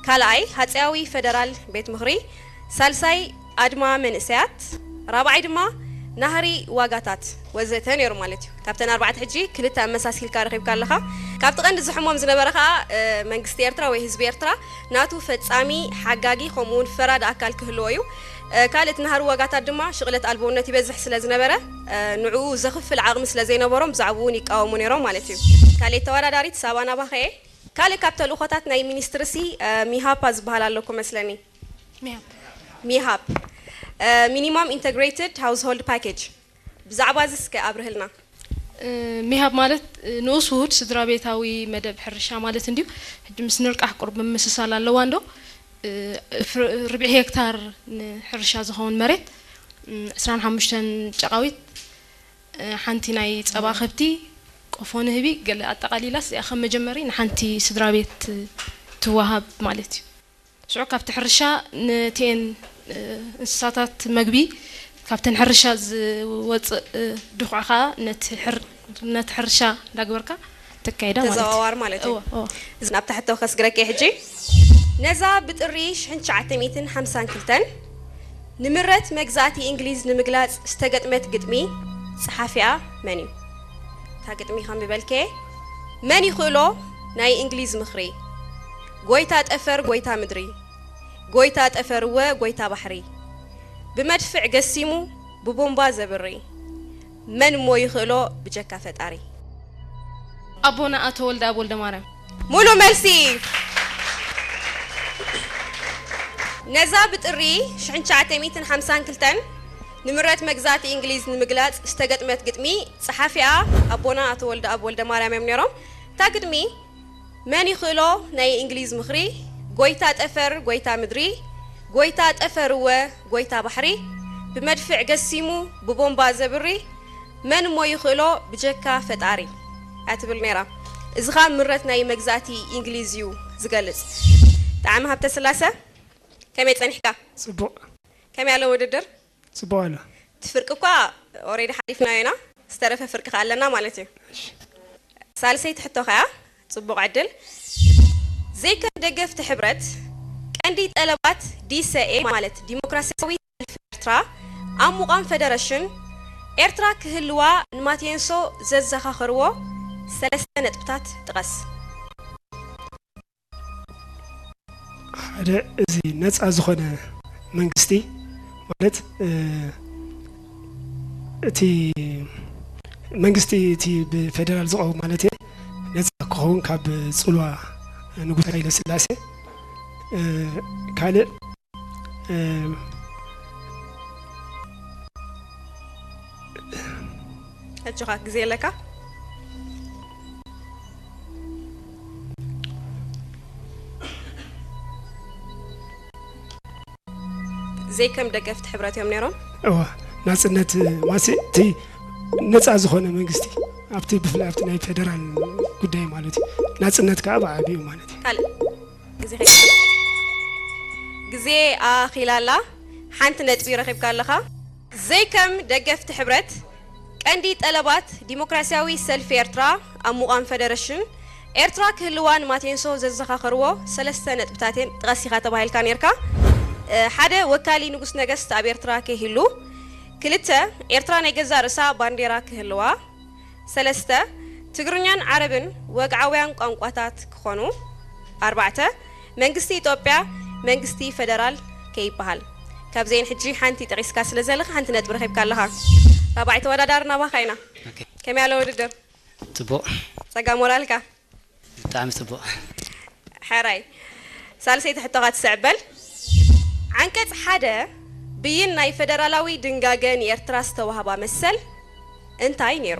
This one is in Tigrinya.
ካልኣይ ሃፀያዊ ፈደራል ቤት ምኽሪ፣ ሳልሳይ ኣድማ መንእሰያት፣ ራብዓይ ድማ ናህሪ ዋጋታት ወዘተ ነይሩ ማለት እዩ። ካብተን ኣርባዕተ ሕጂ ክልተ ኣመሳሲልካ ረኺብካ ኣለኻ። ካብቲ ቀንዲ ዝሕሞም ዝነበረ ከዓ መንግስቲ ኤርትራ ወይ ህዝቢ ኤርትራ ናቱ ፈፃሚ፣ ሓጋጊ ከምኡ እውን ፈራዲ ኣካል ክህልዎ እዩ። ካልእ እቲ ናህሪ ዋጋታት ድማ ሽቕለት ኣልቦነት ይበዝሕ ስለ ዝነበረ ንዕኡ ዘኽፍል ዓቕሚ ስለ ዘይነበሮም ብዛዕባኡ እውን ይቃወሙ ነይሮም ማለት እዩ። ካልእ ተወዳዳሪት ሳባ ናባኸ እየ። ካልእ ካብ ተልእኾታት ናይ ሚኒስትሪ ሲ ሚሃፓ ዝበሃል ኣለኩ መስለኒ። ሚሃፕ። ሚሃፕ፣ ሚኒማም ኢንተግሬትድ ሃውስሆልድ ፓኬጅ፣ ብዛዕባ እዚ እስከ ኣብርህልና። ሚሃብ ማለት ንኡስ ውሁድ ስድራ ቤታዊ መደብ ሕርሻ ማለት እንድዩ። ሕጂ ምስ ንርቃሕ ቁሩብ ምምስሳል ኣለዋ እንዶ። ርብዒ ሄክታር ንሕርሻ ዝኸውን መሬት፣ ዕስራን ሓሙሽተን ጨቓዊት፣ ሓንቲ ናይ ጸባ ከብቲ፣ ቆፎ ንህቢ፣ ገለ ኣጠቓሊላስ እዚኣ ከም መጀመሪ ንሓንቲ ስድራ ቤት ትወሃብ ማለት እዩ። ሽዑ ካብቲ ሕርሻ ነቲኤን እንስሳታት መግቢ ካብተን ሕርሻ ዝወፅእ ድኹዕ ከዓ ነቲ ሕርሻ እንዳግበርካ ተካይዳ ማለት እዩ። ተዘዋዋሪ ማለት እዩ። እወ፣ እወ። ናብታ ሕቶ ከስግረኪ ሕጂ። ነዛ ብጥሪ ሽሕን ትሽዓተ ሚእትን ሓምሳን ክልተን ንምረት መግዛእቲ እንግሊዝ ንምግላጽ ዝተገጥመት ግጥሚ ጸሓፊኣ መን እዩ? እታ ግጥሚ ከም ዝበልከ መን ይኽእሎ ናይ እንግሊዝ ምኽሪ? ጎይታ ጠፈር ጎይታ ምድሪ፣ ጎይታ ጠፈር እወ ጎይታ ባሕሪ፣ ብመድፍዕ ገሲሙ ብቦምባ ዘብሪ፣ መን እሞ ይኽእሎ ብጀካ ፈጣሪ? ኣቦና ኣቶ ወልደኣብ ወልደማርያም። ሙሉ መልሲ። ነዛ ብጥሪ ሽሕን ትሽዓተ ሚእትን ሓምሳን ክልተን ንምረት መግዛእቲ እንግሊዝ ንምግላጽ ዝተገጥመት ግጥሚ ጸሓፊኣ ኣቦና ኣቶ ወልደኣብ ወልደማርያም እዮም ነይሮም። እታ ግጥሚ መን ይኽእሎ ናይ እንግሊዝ ምኽሪ፣ ጎይታ ጠፈር ጎይታ ምድሪ፣ ጎይታ ጠፈር እወ ጎይታ ባሕሪ፣ ብመድፍዕ ገሲሙ ብቦምባ ዘብሪ፣ መን እሞ ይኽእሎ ብጀካ ፈጣሪ እያ ትብል ነይራ። እዚ ኸኣ ምረት ናይ መግዛእቲ እንግሊዝ እዩ ዝገልጽ። ጣዕሚ ሃብተስላሰ፣ ከመይ ጸኒሕካ? ጽቡቕ። ከመይ ኣሎ ውድድር? ጽቡቕ ኣሎ። እቲ ፍርቂ እኳ ኦሬዲ ሓሊፍናዮ ኢና፣ ዝተረፈ ፍርቂ ከኣ ኣለና ማለት እዩ። ሳልሰይቲ ሕቶ ከኣ ጽቡቕ ዕድል። ዘይከም ደገፍቲ ሕብረት ቀንዲ ጠለባት ዲሰኤ ማለት ዲሞክራሲያዊ ሰልፊ ኤርትራ ኣብ ምቋም ፈደረሽን ኤርትራ ክህልዋ ንማቴንሶ ዘዘኻኸርዎ ሰለስተ ነጥብታት ጥቐስ። ሓደ እዚ ነፃ ዝኾነ መንግስቲ ማለት እቲ መንግስቲ እቲ ብፌደራል ዝቐውም ማለት እየ ነፃ ክኸውን ካብ ፅልዋ ንጉስ ሃይለ ስላሴ ካልእ ሕጂ ኸ ግዜ ኣለካ። ዘይከም ደገፍቲ ሕብረት እዮም ነይሮም። እወ ናፅነት ማሲ እቲ ነፃ ዝኾነ መንግስቲ ኣብቲ ብፍላይ ኣብቲ ናይ ፌደራል ጉዳይ ማለት እዩ። ናፅነት ከዓ ብዓብዩ ማለት እዩ። ካልእ ግዜ ከይትስለ ግዜ ኣኺላ ኣላ። ሓንቲ ነጥቢ ረኺብካ ኣለኻ። ዘይከም ደገፍቲ ሕብረት ቀንዲ ጠለባት ዲሞክራሲያዊ ሰልፊ ኤርትራ ኣብ ምቋም ፈደረሽን ኤርትራ ክህልዋ ንማቴንሶ ዘዘኻኸርዎ ሰለስተ ነጥብታት እየን። ጥቐስ ኢኻ ተባሂልካ ነይርካ። ሓደ ወካሊ ንጉስ ነገስት ኣብ ኤርትራ ከይህሉ፣ ክልተ ኤርትራ ናይ ገዛእ ርእሳ ባንዴራ ክህልዋ፣ ሰለስተ ትግርኛን ዓረብን ወግዓውያን ቋንቋታት ክኾኑ፣ ኣርባዕተ መንግስቲ ኢትዮጵያ መንግስቲ ፈደራል ከይበሃል። ካብዘን ሕጂ ሓንቲ ጠቒስካ ስለ ዘለኻ ሓንቲ ነጥቢ ረኺብካ ኣለኻ። ራብዓይ ተወዳዳሪ ናባኻ ኢና። ኦኬ። ከመይ ኣሎ ውድድር? ጽቡቕ። ጸጋ ሞራልካ? ብጣዕሚ ጽቡቕ። ሕራይ። ሳልሰይቲ ሕቶኻ ትስዕብ በል። ዓንቀጽ ሓደ ብይን ናይ ፈደራላዊ ድንጋገ ንኤርትራ ዝተዋህባ መሰል እንታይ ነይሩ?